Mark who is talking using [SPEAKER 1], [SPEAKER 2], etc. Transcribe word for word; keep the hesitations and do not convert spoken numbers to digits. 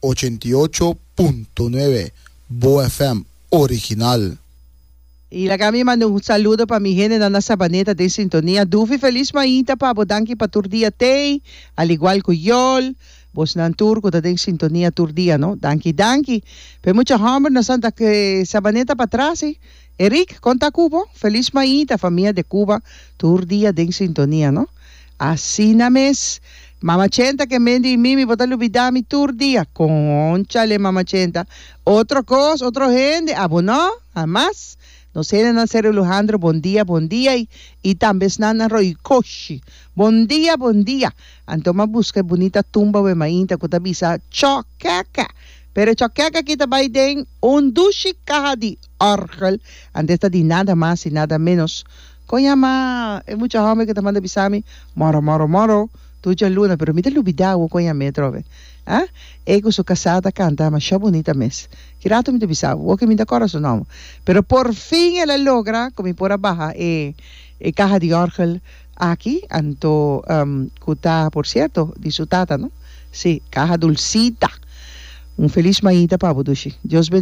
[SPEAKER 1] ochenta i ocho punto nuebe Bo F M original.
[SPEAKER 2] I laga mi manda un saludo pa mi hende na Sabaneta den sintonia. Dufi, felis mainta pa bo, danki pa tur dia tei, al igual ku Yol. Bosnan tur ku ta den sintonia tur dia, no? Danki, danki. Pe mucha homber na Santa que Sabaneta patras, eh? Eric, konta Cubo, felis mainta, famia de Cuba, tur dia den sintonia, no? Asina mes. Mama Chenta ke mendi mimi bota lubidami tur dia. Conchale, Mama Chenta. Otro kos, otro hende, abo no, hamas. Nos hende na Seru Lujandro, bon dia, bon dia. I, i tambe na Roy Koshi. Bon dia, bon dia. Anto m'a buska bunita tumba we mainta ku ta bisa chokeka. Pero chokeka kita bai den un dushi kaha di orgel. Antes ta di nada mas i nada menos. Kon yama e mucha hòmber ku ta manda bisami moro moro moro tur djaluna, pero mi ta lubidá kon yama atrobe. Ah? E ku su kasá ta kanta masha bunita mes. Ki ratu mi ta bisa, ku mi ta kòrda su nòmber. Pero por fin el a logra ku mi por a baha e e kaha di orgel aki, anto um, ku ta, por sierto, di su tata, no? Si, kaha Dulcita. Un felis mainta pa bo, dushi. Dios bendiga.